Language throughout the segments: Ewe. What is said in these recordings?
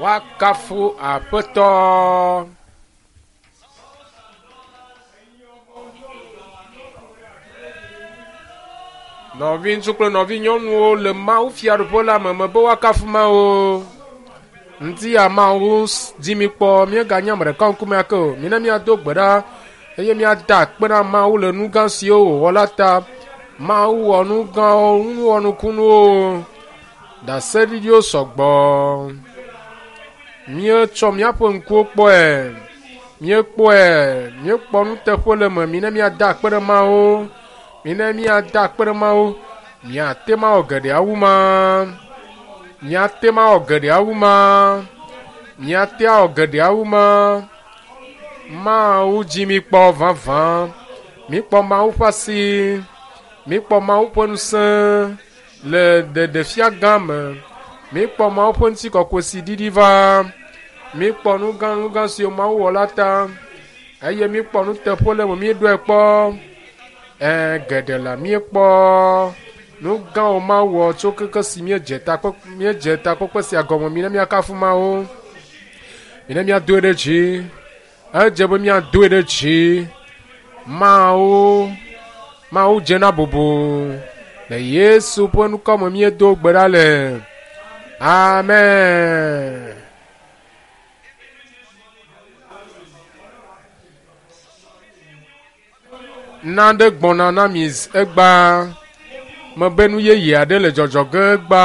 Woakafu Aƒetɔ. Nɔviŋutsu kple nɔvinyɔnuwo le Mawu fiaɖuƒe la me me be woakafu Mawu. Ŋdi ya Mawu dzi mi kpɔ míeganye ame ɖeka ŋkume ake o. Mina míado gbe ɖa eye míada akpe na Mawu le nu gã siwo wòwɔ la ta. Mawu wɔ nu gãwo, nu wɔnukunuwo. Ɖaseɖiɖiwo sɔgbɔ. Míetsɔ míaƒe ŋkuwo kpɔe. Míekpɔe. Míekpɔ nuteƒe le eme. Mina míada akpe ɖe Mawu. Mina míada akpe ɖe Mawu. Míate ŋu awɔ geɖe awu ma. Míate ŋu awɔ geɖe awu ma. Míate awɔ geɖe awu ma. Mawu dzi míkpɔ vavã. Míkpɔ Mawu ƒe asi. Míkpɔ Mawu ƒe ŋusẽ le ɖeɖefia gã me. Míkpɔ Mawu ƒe ŋutikɔkɔe si ɖiɖi va. Míkpɔ nu gã nu gã siwo Mawu wɔ la ta eye míkpɔ nuteƒe le eme míeɖɔe kpɔ. Ẽ, geɖe la míekpɔ nu gãwo Mawu wɔ tso keke si míedze takpe míedze takpekpe sia gɔme. Mina míakafu Mawu. Mina míadoe ɖe dzi. Edze be míadoe ɖe dzi. Mawu, Mawu dze na bubu. Le Yesu ƒe ŋkɔ me míedo gbe ɖa le. Amen. Nane gbɔna na mi egba. Mebe nu yeye aɖe le dzɔdzɔ ge egba.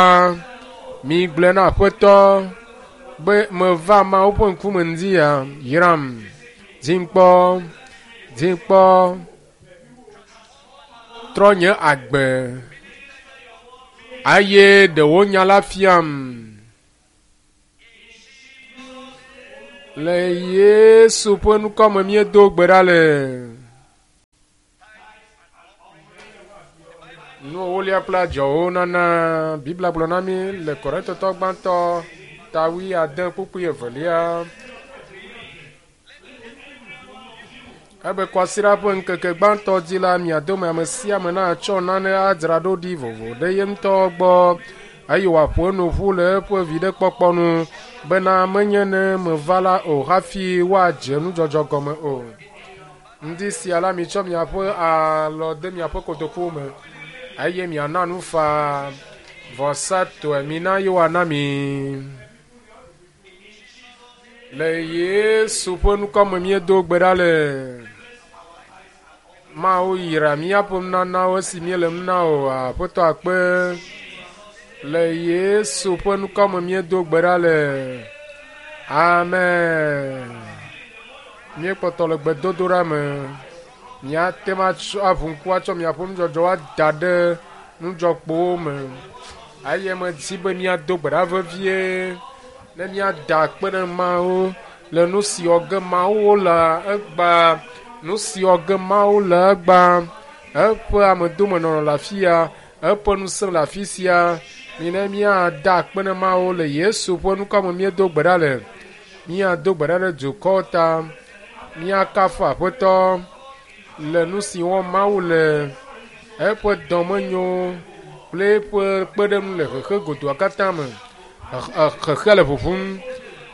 Migblɔe na Aƒetɔ be meva Mawu ƒe ŋkume ŋdi ya. Yram. Dzim kpɔ. Dzim kpɔ. Trɔ nye agbe. Eye ɖe wò nya la fiam. Le Yesu ƒe ŋkɔ me míedo gbe ɖa le. Nu ewolia kple adzɔwo nana Biblia gblɔ na mí le Korintotɔ gbãtɔ ta wuiade kpukpui evelia. Ebe kwasiɖa ƒe ŋkeke gbãtɔ dzi la, mia dome ame sia ame natsɔ nane adzra ɖo ɖi vovo ɖe ye ŋutɔ gbɔ eye wòaƒo enu ƒu le eƒe viɖekpɔkpɔ nu bena menye ne meva la o hafi woadze nudzɔdzɔ gɔme o. Ŋdi sia la, mitsɔ miaƒe alɔ de miaƒe kotokuwo me eye miana nu faa vɔsatɔe. Mina ye woana mi. Le Yesu ƒe ŋkɔ me míedo gbe ɖa le. Mawu yra míaƒe nunanawo esi míele nu na o. Aƒetɔ akpe. Le Yesu ƒe ŋkɔ me míedo gbe ɖa le. Amen. Míekpɔtɔ le gbedodoɖa me. Míate ŋu atsɔ aʋu ŋku atsɔ miaƒe nudzɔdzɔwo ada ɖe nudzɔkpowo me. Eye medi be míado gbe ɖa vevie ne míada akpe ɖe Mawu le nu si wɔ ge Mawu le egbea, nu si wɔ ge Mawu le egbea, eƒe amedomenɔnɔ le afi ya, eƒe ŋusẽ le afi sia. Mina míada akpe na Mawu le Yesu ƒe ŋkɔ me míedo gbe ɖa le. Míado gbe ɖa ɖe dukɔwo ta. Míakafu Aƒetɔ le nu si wɔm Mawu le, eƒe dɔmenyo kple eƒe kpeɖeŋu le xexe godoa katã me. Xexea le ʋuʋum,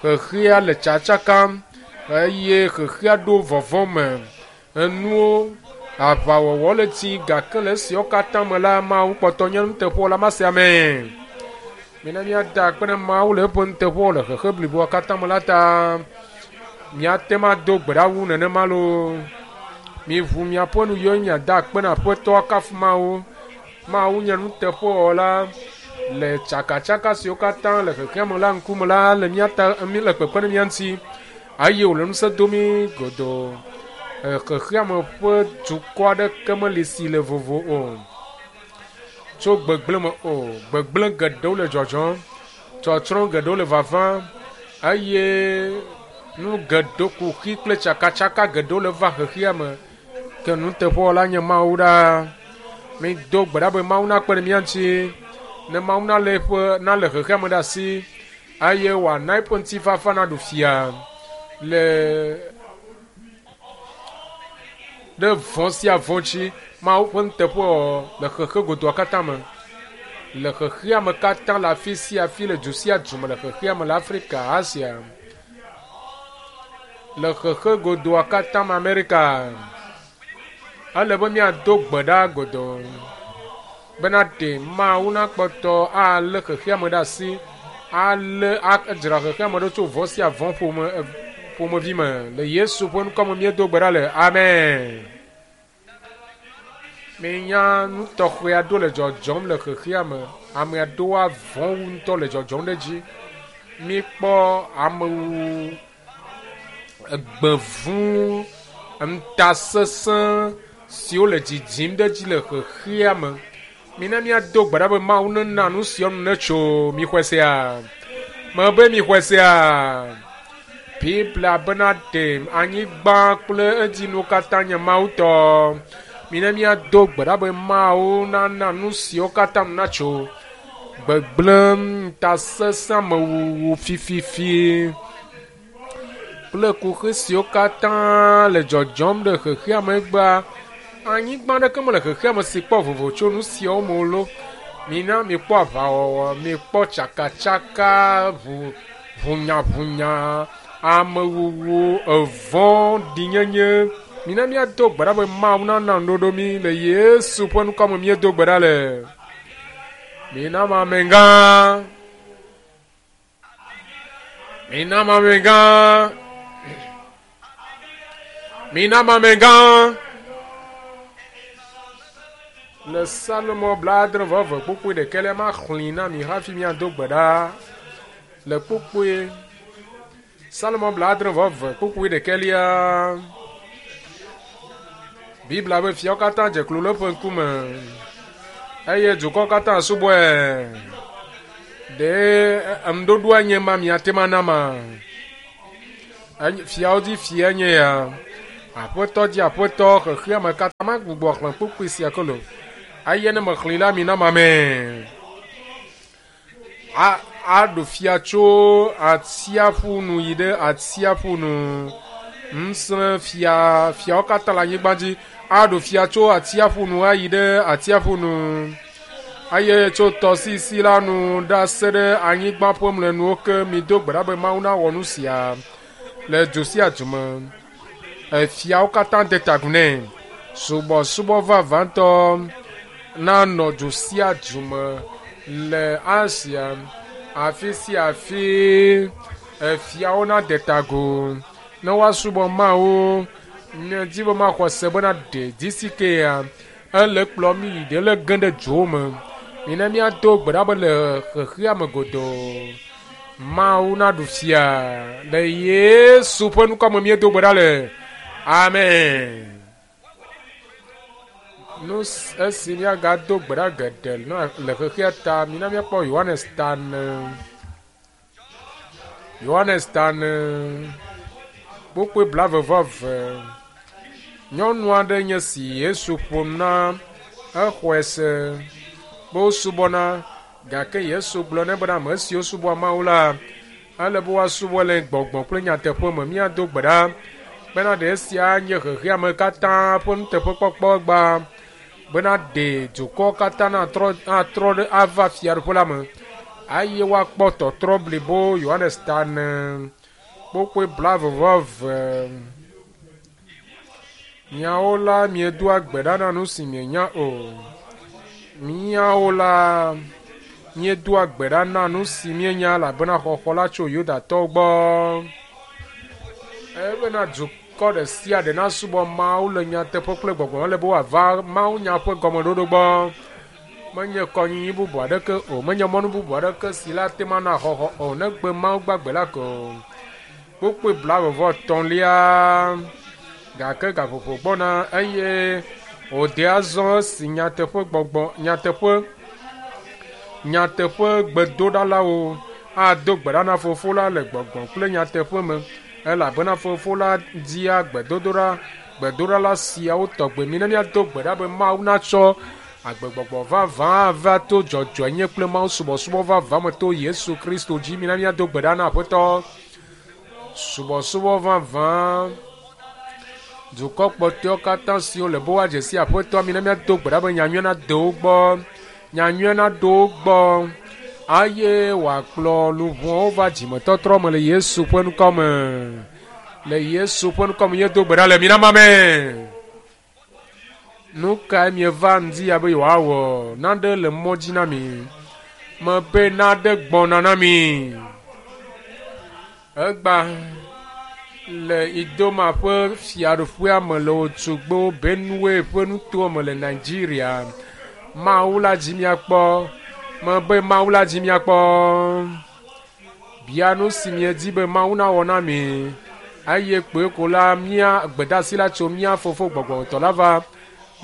xexea le tsatsakam eye xexea ɖo vɔvɔ̃ me. Enuwo, aʋawɔwɔ le dzi gake le esiawo katã me la, Mawu kpɔtɔ nye nuteƒewɔla ma sia me. Mina míada akpe na Mawu le eƒe nuteƒewɔwɔ le xexe bliboa katã me la ta. Míate ŋu ado gbe ɖa wu nenema loo. Miʋu miaƒe nu yiwo miada akpe na Aƒetɔ akafu Mawu. Mawu nye nuteƒewɔla le tsakatsaka siwo katã le xexea me la ŋkume la le mía ta, le kpekpe ɖe mía ŋuti eye wòle ŋusẽ dom mí godoo. Xexea me ƒe dukɔ aɖeke meli si le vovo o tso gbegblẽ me o. Gbegblẽ geɖewo le dzɔdzɔm, tsɔtsrɔ̃ geɖewo le vavam eye nu geɖewo, kuxi kple tsakatsaka geɖewo le va xexea me. Ke nuteƒewɔla nye Mawu ɖaa. Mido gbe ɖa be Mawu nakpe ɖe mía ŋuti, ne Mawu nalé eƒe nalé xexea me ɖe asi eye wòana eƒe ŋutifafa naɖu fia le ɖe vɔ̃ sia vɔ̃ dzi. Mawu ƒe nuteƒewɔwɔ le xexe godoa katã me. Le xexea me katã le afi sia afi le du sia du me le xexea me le Afrika, Asia, le xexe godoa katã me Amerika. Ele be míado gbe ɖa godoo bena ɖe Mawu nakpɔtɔ alé xexea me ɖe asi, alé adzra xexea me ɖo tso vɔ̃ sia vɔ̃ ƒome ƒomevi me. Le Yesu ƒe ŋkɔ me míedo gbe ɖa le. Amen. Minya nu tɔxɛ aɖewo le dzɔdzɔm le xexea me. Ame aɖewo avɔ̃ wu ŋutɔ le dzɔdzɔm ɖe edzi. Míkpɔ amewuwu, egbevu, ŋutasesẽ siwo le dzidzim ɖe edzi le xexea me. Mina míado gbe ɖa be Mawu nena nu siawo nu netso. Mixɔe sea? Mebe mixɔe sea? Biblia bena ɖe anyigba kple edzinuwo katã nye Mawu tɔ. Mina míado gbe ɖa be Mawu nana nu siawo katã nu natso. Gbegblẽ, ŋutasesẽ, amewuwu, fififi kple kuxi siwo katã le dzɔdzɔm ɖe xexea me egbea. Anyigba aɖeke mele xexea me si kpɔ vovo tso nu siawo me o lo. Mina mikpɔ aʋawɔwɔ, mikpɔ tsakatsaka, ʋu, ʋunyaʋunya, amewuwu, evɔ̃ɖinyenye. Mina míado gbe ɖa be Mawu nana ŋuɖoɖo mí le Yesu ƒe ŋkɔ me míedo gbe ɖa le. Mina amegã. Mina amegã. Mina amegã. Le Salomo 70 kpukpui ɖekɛlia maxlẽe na mi hafi míado gbe ɖa. Le kpukpui Salomo 70 kpukpui ɖekɛlia. Biblia be fiawo katã dze klo le eƒe ŋkume eye dukɔ katã subɔe. Ɖe ŋuɖoɖoa nye ma miate ŋu ana ma? Fiawo dzi fia nye ya. Aƒetɔ dzi aƒetɔ xexea me katã magbugbɔ xlẽ kpukpui sia ke lo. Eye ne mexlẽe la mina mame. A aɖu fia tso atsiaƒu nu yi ɖe atsiaƒu nu. Ŋusẽ fia fiawo katã le anyigba dzi aɖu fia tso atsiaƒu nu ayi ɖe atsiaƒu nu. Eye tso tɔsisi la nu ɖase ɖe anyigba ƒe mlɔenuwo ke. Mido gbe ɖa be Mawu nawɔ nu sia le du sia du me. Efiawo katã de ta agu nɛ. Subɔsubɔ vavãtɔ nanɔ du sia du me le Asia, afi sia afi efiawo nade ta agu ne woasubɔ Mawu. Medi be maxɔ se bena ɖe DCK-a ele kplɔ mí yi ɖe le ge ɖe dzowo me. Mina míado gbe ɖa be le xexea me godoo Mawu naɖu fia le Yesu ƒe ŋkɔ me míedo gbe ɖa le. Amen. Nu esi míagado gbe ɖa geɖe le xexea ta, mina míakpɔ Yohanes ta ne. Yohanes ta ne kpukpui 22. Nyɔnu aɖe nye si Yesu ƒo nu na exɔe se be wosubɔna gake Yesu gblɔ nɛ bena ame siwo subɔa Mawu la ele be woasubɔ le gbɔgbɔ kple nyateƒe me. Míado gbe ɖa bena ɖe esia nye xexeame katã ƒe nuteƒekpɔkpɔ gbã bena ɖe dukɔ katã natrɔ atrɔ ɖe ava fiaɖuƒe la me eye woakpɔ tɔtrɔ blibo. Yohanes ta ne kpokpoe 22. Miawo la miedoa gbe ɖa na nu si mienya o. Miawo la míedoa gbe ɖa na nu si míenya elabena xɔxɔ la tso Yudatɔwo gbɔ. Ebena dukɔ ɖe sia ɖe nasubɔ Mawu le nyateƒe kple gbɔgbɔ me ele be woava Mawu nya ƒe gɔmeɖoɖo gbɔ. Menye kɔnyinyi bubu aɖeke o, menye mɔnu bubu aɖeke si la te mana xɔxɔ o, negbe Mawu gbagbe la ko. Kpukpui 33 gake gaƒoƒo gbɔna eye wòde azɔ esi nyateƒe gbɔgbɔ nyateƒe nyateƒe gbedoɖalawo ado gbe ɖa na Fofo la le gbɔgbɔ kple nyateƒe me elabena Fofo la dia gbedodoɖa gbedoɖala siawo tɔgbe. Mina míado gbe ɖa be Mawu natsɔ agbegbɔgbɔ vavã ava to dzɔdzɔenye kple Mawu subɔsubɔ vavã me to Yesu Kristo dzi. Mina míado gbe ɖa na Aƒetɔ. Subɔsubɔ vavã dukɔ kpɔtɔewo katã siwo le be woadze si Aƒetɔa, mina míado gbe ɖa be nyanyuia nade wo gbɔ. Nyanyuia naɖo wo gbɔ eye wòakplɔ luʋɔwo va dzimetɔtrɔ me le Yesu ƒe ŋkɔ me. Le Yesu ƒe ŋkɔ me míedo gbe ɖa le mina ma me. Nu kae mieva ŋdi ya be yewoawɔ? Naɖe le mɔ dzi na mi. Mebe naɖe gbɔna na mi. Egba le Idoma ƒe fiaɖuƒea me le Otsugbo Benue ƒe nutoa me le Nigeria. Mawu la dzi miakpɔ. Mebe Mawu la dzi miakpɔ. Bia nu si miedi be Mawu nawɔ na mi. Eye kpoe ko la mía gbedasi la tso mía fofo gbɔgbɔmetɔ la va.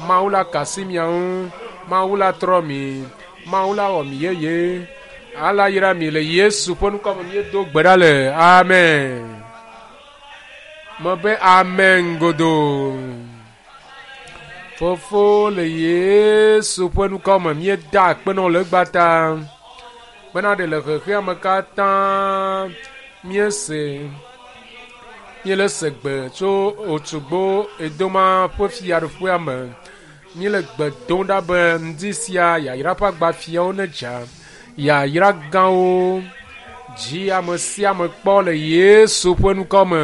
Mawu la ka asi mia ŋu. Mawu la trɔ mi. Mawu la wɔ mi yeye. Ala yra mi le Yesu ƒe ŋkɔ me míedo gbe ɖa le. Amen. Mebe amen godoo. Fofo le Yesu ƒe ŋkɔ me míeda akpe na wò le egbea ta bena ɖe le xexea me katã míese míele se gbe tso Otsugbo Edoma ƒe fiaɖuƒea me. Míele gbe dom ɖa be ŋdi sia yayra ƒe agbafiawo nedza. Yayra gãwo dzi ame sia ame kpɔ le Yesu ƒe ŋkɔ me.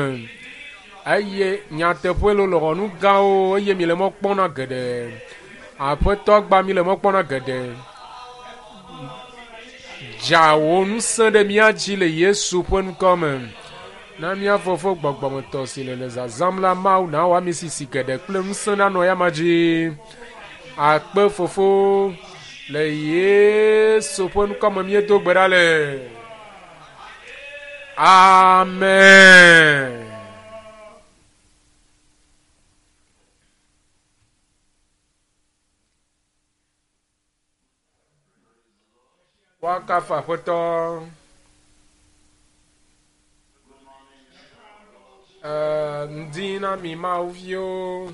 Eye nyateƒe lolo xɔ nu gãwo eye mi le mɔ kpɔm na geɖe. Aƒetɔ gba mi le mɔ kpɔm na geɖe. Dza wò ŋusẽ ɖe mía dzi le Yesu ƒe ŋkɔ me. Na mía fofo gbɔgbɔmetɔ si le le zazãm la Mawu nawɔ ami sisi geɖe kple ŋusẽ nanɔ eyama dzi. Akpe fofo le Yesu ƒe ŋkɔ me míedo gbe ɖa le. Amen. Woakafu Aƒetɔ. Eh, ŋdi na mi Mawu viwo.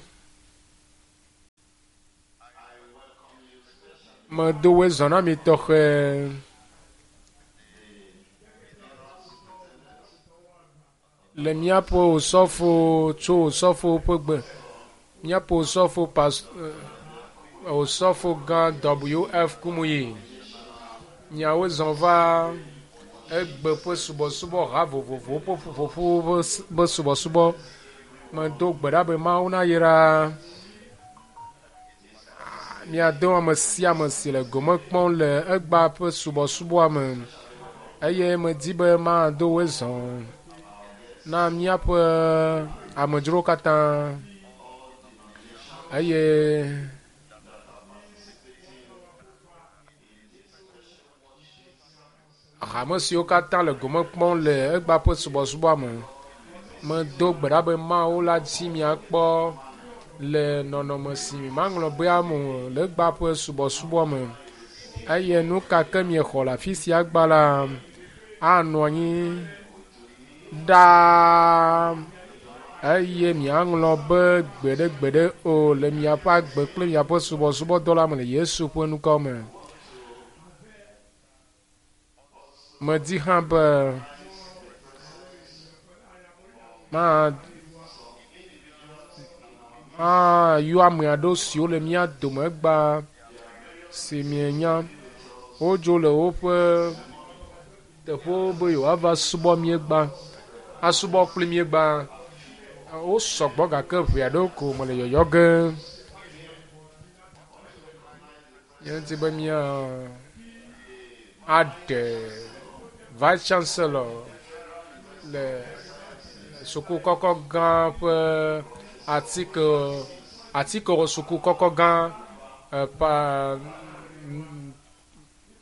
Medo woe zɔ na mi tɔxɛ. Le míaƒe osɔfo tso osɔfo ƒe gbe míaƒe osɔfo pas osɔfo gã WF Kumuyi miawo zɔ va egbe ƒe subɔsubɔ ha vovovowo ƒe ƒuƒoƒo ƒe subɔsubɔ. Medo gbe ɖa be Mawu nayra Míado ame sia ame si le gome kpɔm le egbea ƒe subɔsubɔa me eye medi be mado woe zɔ na míaƒe amedzrowo katã eye Hame siwo katã le gome kpɔm le egbea ƒe subɔsubɔa me, medo gbe ɖa be Mawu la dzi miakpɔ le nɔnɔme si maŋlɔ bea me o le egbea ƒe subɔsubɔa me. Eye nu ka ke miexɔ le afi sia gba la, anɔ anyi ɖaa eye miaŋlɔ be gbeɖegbeɖe o le miaƒe agbe kple miaƒe subɔsubɔdɔ la me le Yesu ƒe ŋkɔ me. Medi hã be mayɔ ame aɖewo siwo le mía dome egbea si mienya. Wodzo le woƒe teƒewo be yewoava subɔ mí egbea, asubɔ kpli mí egbea. Wo sɔgbɔ gake ʋɛ aɖewo ko mele yɔyɔ ge. Míedi be mía aɖe Vice Chancellor le suku kɔkɔ gã ƒe atike atike suku kɔkɔ gã pa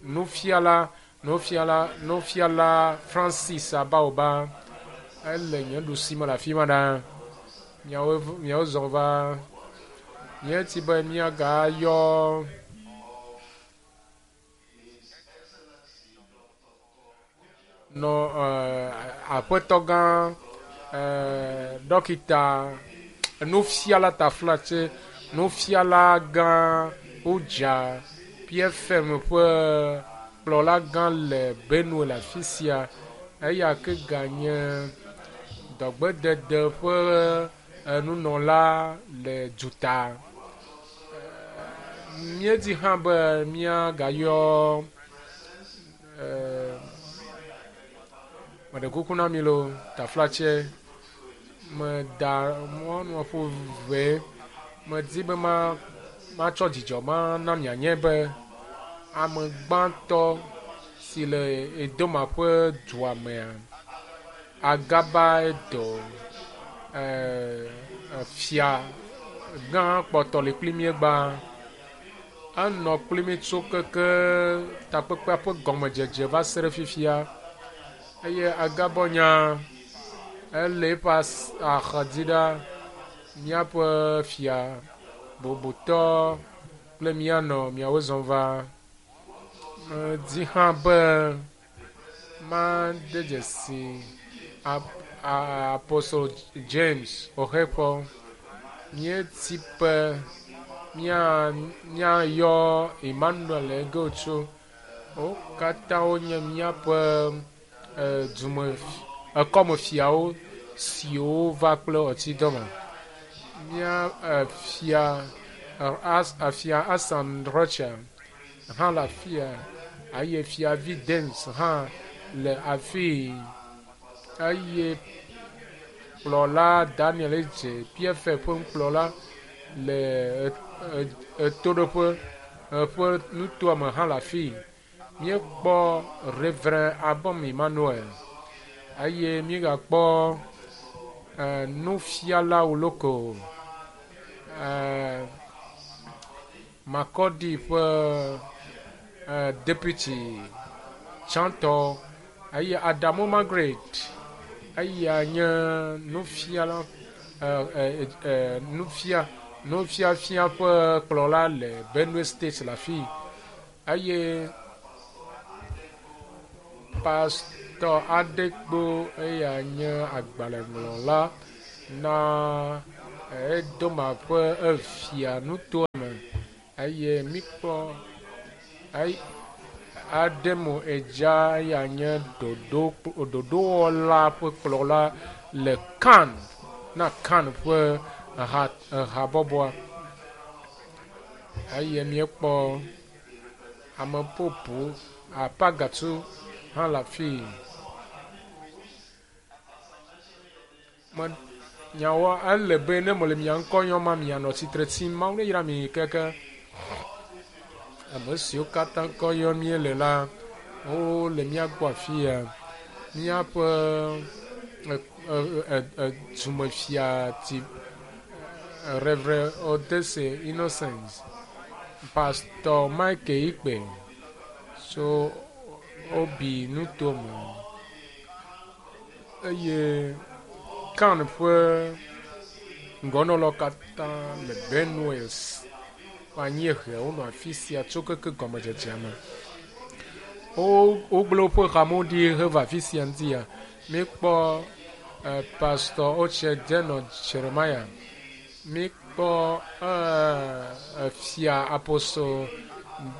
nufiala nufiala nufiala Francis Abaoba ele nye ɖusi me le afi ma ɖa. Miawo miawo zɔ va. Míeti be míagayɔ nɔ aƒetɔ gã dɔkita nufiala taflatse nufiala gã wodza PFM ƒe kplɔla gã le Benue le afi sia eya ke ganye dɔgbedede ƒe nunɔla le duta. Míedi hã be míagayɔ meɖe kuku na mi loo, taflatse meda mɔnua ƒo ʋe. Medi be ma matsɔ dzidzɔ mana mianye be ame gbãtɔ si le Edoma ƒe dua mea, Agaba Edo, fia gã kpɔtɔ li kpli mí egbea. Enɔ kpli mí tso keke takpekpea ƒe gɔmedzedze va se ɖe fifia eye Agabɔ nya ele eƒe axadzi ɖa míaƒe fia bubutɔ kple míanɔ miawo zɔm va. Medi hã be made dzesi Apostle James Oxeƒɔ. Míedi be míayɔ Emmanuel Egotso. Wo katã wonye míaƒe dume ekɔmefiawo siwo va kple ɔtidɔme. Mía fia fia Asan Rocha hã le afia eye fiavi Dens hã le afii eye kplɔla Daniel Edze PFF ƒe nukplɔla le etoɖoƒe ƒe nutoa me hã le afii. Míekpɔ Reverend Abom Emmanuel eye míegakpɔ nufiala Woloko Makɔdi ƒe deputy tsãtɔ eye Adamu Margaret eya nye nufiala nufiafia ƒe kplɔla le Benue State le afii eye pastor Adekpo eya nye agbalẽŋlɔla na Edoma ƒe efia nutoa me eye míkpɔ Ademo Edza eya nye ɖoɖowɔla ƒe kplɔla le Kan na Kan ƒe habɔbɔa eye míekpɔ ame bubu Apagatu hã le afii. Nyawo ele be ne mele mia ŋkɔ yɔm ma mianɔ tsitre tsim. Mawu ne yra mi keke. Ame siwo katã ŋkɔ yɔm míele la, wole mía gbɔ afia. Míaƒe dumefia ti Reverend Odese Innocent, Pastor Michael Ikpe tso Obi nutome eye Kan ƒe ŋgɔnɔlawo katã le Benue ƒe anyiehe wonɔ afi sia tso keke gɔmedzedzea me. Wogblẽ woƒe hamewo ɖi heva afi sia ŋutia. Míekpɔ Pastor Oche Denɔ Jeremiah. Míekpɔ fia Apostle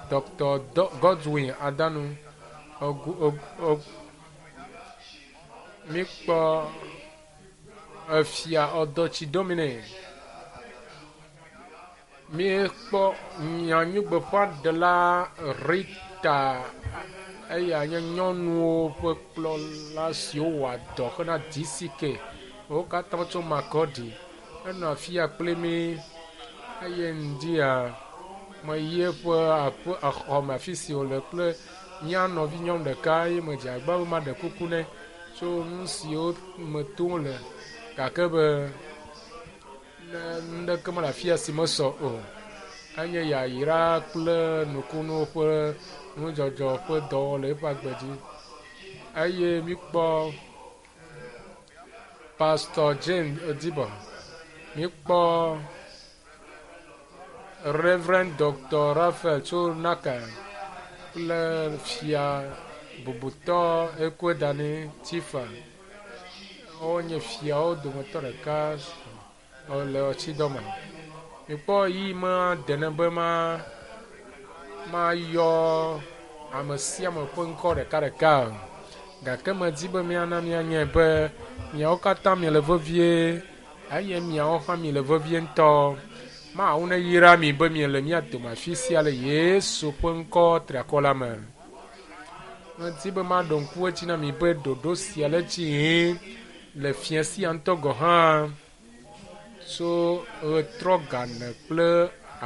Dr. Godwin Adanu. Míekpɔ efia Ɔdɔtsi Domine. Míekpɔ nyanyuigbeƒãɖela Rita eya nye nyɔnuwo ƒe kplɔla siwo wɔa dɔ hena DCK. Wo katã tso Makɔdi. Enɔ afia kpli mí eye ŋdia meyi eƒe aƒe exɔme afi si wòle kple mía nɔvi nyɔnu ɖeka eye medze agbagba be maɖe kuku nɛ tso nu siwo me tom wole gake be ne nuɖeke mele afia si mesɔ o. Enye yayra kple nukunuwo ƒe nudzɔdzɔ ƒe dɔwɔwɔ le eƒe agbe dzi eye míkpɔ Pastor Jane Odibo, míkpɔ Reverend Dr. Raphael tso Naka kple fia bubutɔ Ekwedani Tifa. Wonye fiawo dometɔ ɖeka le ɔtsidɔme. Mikpɔ yi ma dene be ma mayɔ ame sia ame ƒe ŋkɔ ɖekaɖeka o. Gake medi be míana míanyae be miawo katã miele vevie eye miawo hã miele vevie ŋutɔ. Mawu neyra mi be miele mía dome afi sia le Yesu ƒe ŋkɔ triakɔ la me. Medi be maɖo ŋku edzi na mi be ɖoɖo sia le dzi yim le fia sia ŋutɔ gɔ̃ hã tso ɣetrɔ gane kple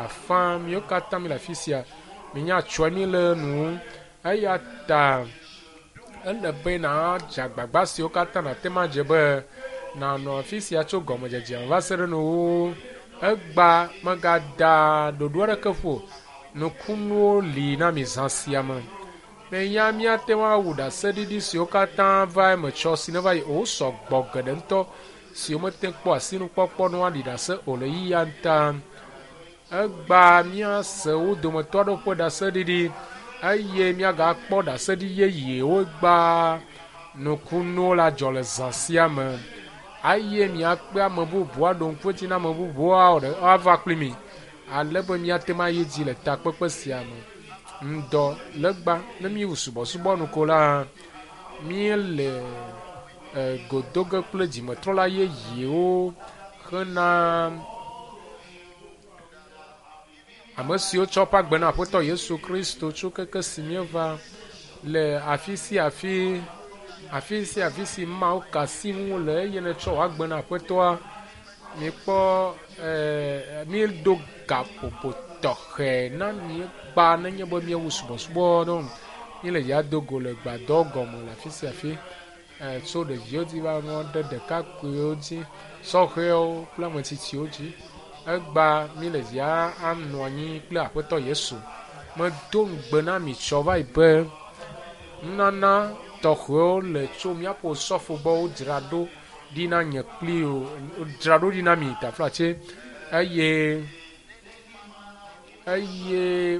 afã miwo katã mi le afi sia. Minya tsɔe mi le nu eya ta ele be nàdze agbagba siwo katã nàte ŋu adze be nànɔ afi sia tso gɔmedzedzea me va se ɖe nuwuwu. Egba megada ɖoɖo aɖeke ƒo o. Nukunuwo li na mi zã sia me. Menya míate ŋu awu ɖaseɖiɖi siwo katã va eme tsɔ si neva yi o. Wosɔ gbɔ geɖe ŋutɔ siwo mete kpɔ asinukpɔkpɔ ne woaɖi ɖase o le yiyia ta. Egba míase wo dometɔ aɖewo ƒe ɖaseɖiɖi eye míagakpɔ ɖaseɖiɖi yeyewo gba nukunuwo la dzɔ le zã sia me eye míakpe ame bubu aɖo ŋku edzi na ame bubuwo woava kpli mi ale be míate ŋu ayi dzi le takpekpe sia me. Ŋdɔ legba ne míwu subɔsubɔ nu ko la, míele go do ge kple dzimetrɔla yeyewo hena ame siwo tsɔ woƒe agbe na Aƒetɔ Yesu Kristo tso keke si míeva le afi sia afi, afi sia afi si Mawu ka asi ŋu le eye nètsɔ wò agbe na Aƒetɔa. Mikpɔ ee míeɖo gaƒoƒo tɔxɛ na míekpa nenye be míewu subɔsubɔ ɖo. Míele ya do go le gbadɔ gɔme le afi sia afi. Tso ɖeviwo dzi va nɔ ɖe ɖekakpuiwo dzi, sɔhɛwo kple ame tsitsiwo dzi. Egba míele ya anɔ anyi kple Aƒetɔ Yesu. Medo ŋugbe na mi tsɔ va yi be nunana tɔxɛwo le tso míaƒe osɔfo gbɔ wodzra ɖo ɖi na nye kpli o, dzra ɖo ɖi na mi taflatse eye eye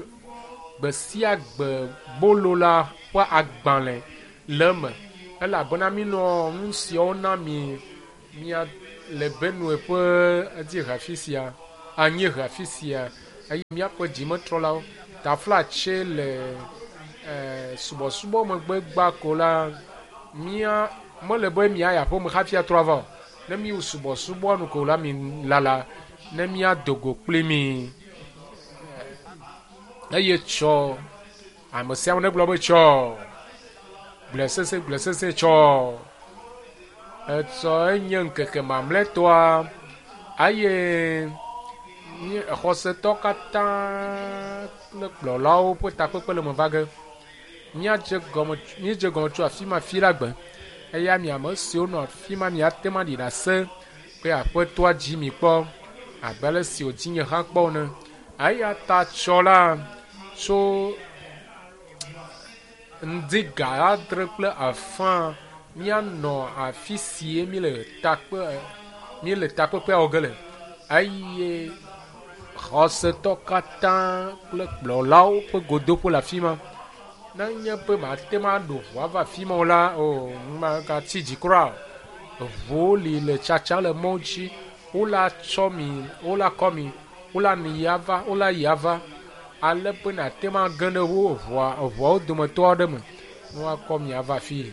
gbe sia gbe bolo la ƒe agbalẽ le eme elabena minɔ nu siawo na mi mia le Benue ƒe dziehe afi sia, anyiehe afi sia eye míaƒe dzimetrɔlawo taflatse le subɔsubɔ megbe gba ko la mía mele be míayi aƒeme hafi atrɔ ava o. Ne míwu subɔsubɔa nu ko la mi lala ne míado go kpli mi eye tsɔ ame sia ame negblɔ be tsɔ gblɔe sese gblɔe sese tsɔ etsɔ enye ŋkeke mamlɛtɔa eye xɔsetɔ katã kple kplɔlawo ƒe takpekpe le me va ge. Míadze gɔme míedze gɔme tso afi ma fi la gbe eya mi ame siwo nɔ afi ma miate ŋu aɖi ɖase be Aƒetɔa dzi mi kpɔ abe ale si wòdzi nye hã kpɔ ene. Eya ta tsɔ la tso ŋdi ga adre kple afã míanɔ afi sie míele takpe míele takpekpea wɔ ge le eye xɔsetɔ katã kple kplɔlawo ƒe godoƒe le afi ma. Nenye be mate ŋu aɖo ʋu ava afi ma o la, o magatsi dzi kura o. Ʋuwo li le tsatsa le mɔ dzi. Wola tsɔ mi, wola kɔ mi, wola mi yi ava, wola yi ava ale be nàte ŋu age ɖe wo ʋua ʋuawo dometɔ aɖe me ne woakɔ mi ava afii.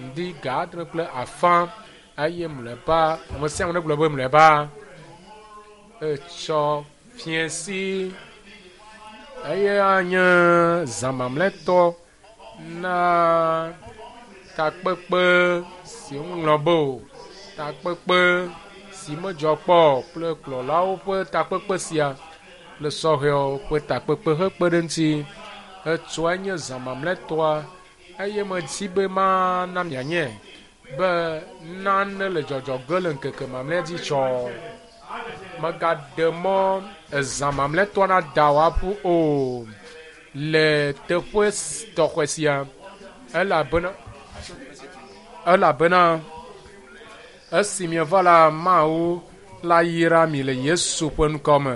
Ŋdi ga adre kple afã eye mlɔeba ame sia ame negblɔ be mlɔeba etsɔ fiẽsi eye anye zã mamlɛtɔ na takpekpe si woŋlɔ be o. Takpekpe si medzɔ kpɔ o kple kplɔlawo ƒe takpekpe sia kple sɔhɛwo ƒe takpekpe hekpe ɖe eŋuti. Etsɔe nye zã mamlɛtɔa eye medi be mana mianye be nane le dzɔdzɔ ge le ŋkeke mamlɛa dzi tsɔ. Megaɖe mɔ ezã mamlɛtɔa nada wò aƒu o le teƒe tɔxɛ sia elabena elabena esi mieva la Mawu la yra mi le Yesu ƒe ŋkɔ me.